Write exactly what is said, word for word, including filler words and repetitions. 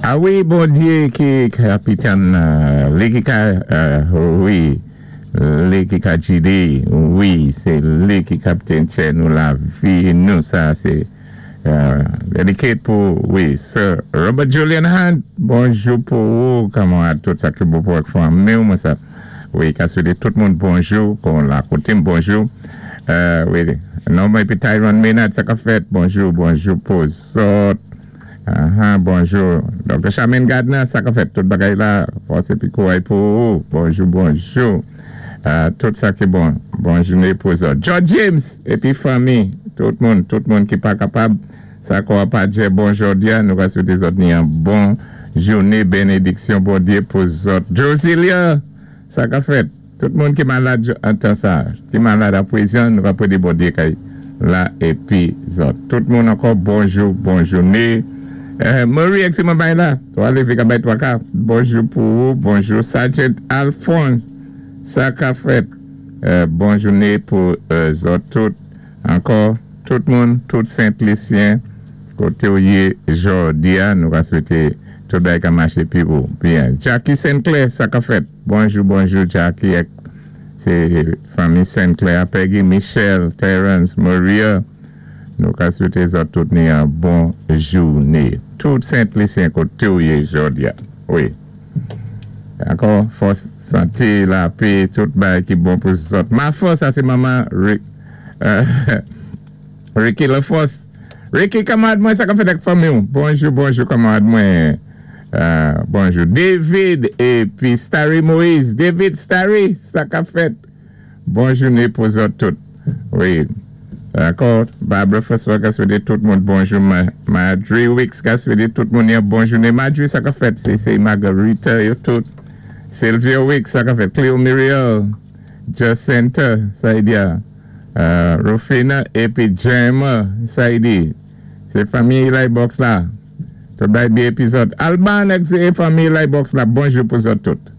A wi, Bondyé ki kapitèn, li ki ka, wi, li ki ka gidé, wi, sé li ki kaptèn tchè nou lavi nou, sa sé dediké pou, wi, Sir Robert Julian Hunt, bonjou pou ou, kamarad, tout sa ki bon pou ak fanmi mwen sa, wi, ka swété tout moun bonjou, kon la koté bonjou, wi, non mwen épi Tyrone Maynard, sa ka fèt, bonjou, bonjou pou zòt. Aha, bonjou. Doctor Charmaine Gardner, sa ka fèt, tout bagay la, fòs épi kouway pou ou. Bonjou, bonjou. Tout sa ki bon, bon jouné pou zòt. George James, épi fanmi, tout moun, tout moun ki pa kapab, sa kwa pa djè bon jòdi a, nou ka swété zòt ni an bon jouné, bénédiksyon Bondyé pou zòt. Josilia, sa ka fèt, tout moun ki malad an tan sa, ki malad apwézan, nou ka pwédé Bondyé kay la épi zòt. Tout moun ankò, bonjou, bon jouné. Marie, ek si mwen bay la, twa lévé ka bay twa ka, bonjou pou ou, bonjou Sergeant Alphonse, sa ka fèt, bon jouné pou zòt tout, ankò, tout moun, tout Sent-Lisyen, koté ou yé jòdi a, nou ka swété tout bagay ka maché pi bon, byen. Jackie Sinclair, sa ka fèt, bonjou, bonjou Jackie, sé fanmi Sinclair, Peggy, Michelle, Terence, Maria, nou ka swété zòt tout ni an bon jouné. Tout Sent-Lisyen koté ou yé jòdi a, wi. Ankò, fòs, santé, lapè, tout bagay ki bon pou zòt. Ma fòs, sa sé manman Rick, Ricky LaForce. Ricky, kamarad mwen, sa ka fèt ak fanmi ou. Bonjou, bonjou, kamarad mwen. Bonjou. David épi Starry Moïse. David Starry, sa ka fèt. Bon jouné pou zòt tout. Wi. Dakò, Barbara François ka swété tout moun bonjou. Marjorie Wicks ka swété tout moun yon bon jouné. Marjorie, sa ka fèt, sé sé Margarita yo tout. Sylvia Wicks, sa ka fèt. Cleo Muriel, Jacinta, sa y di a. Rufina épi Gemma, sa y di. Sé fanmi Eli Box la. Tout bay bi épizòd. Alban ek sé fanmi Eli Box la. Bonjou pou zòt tout.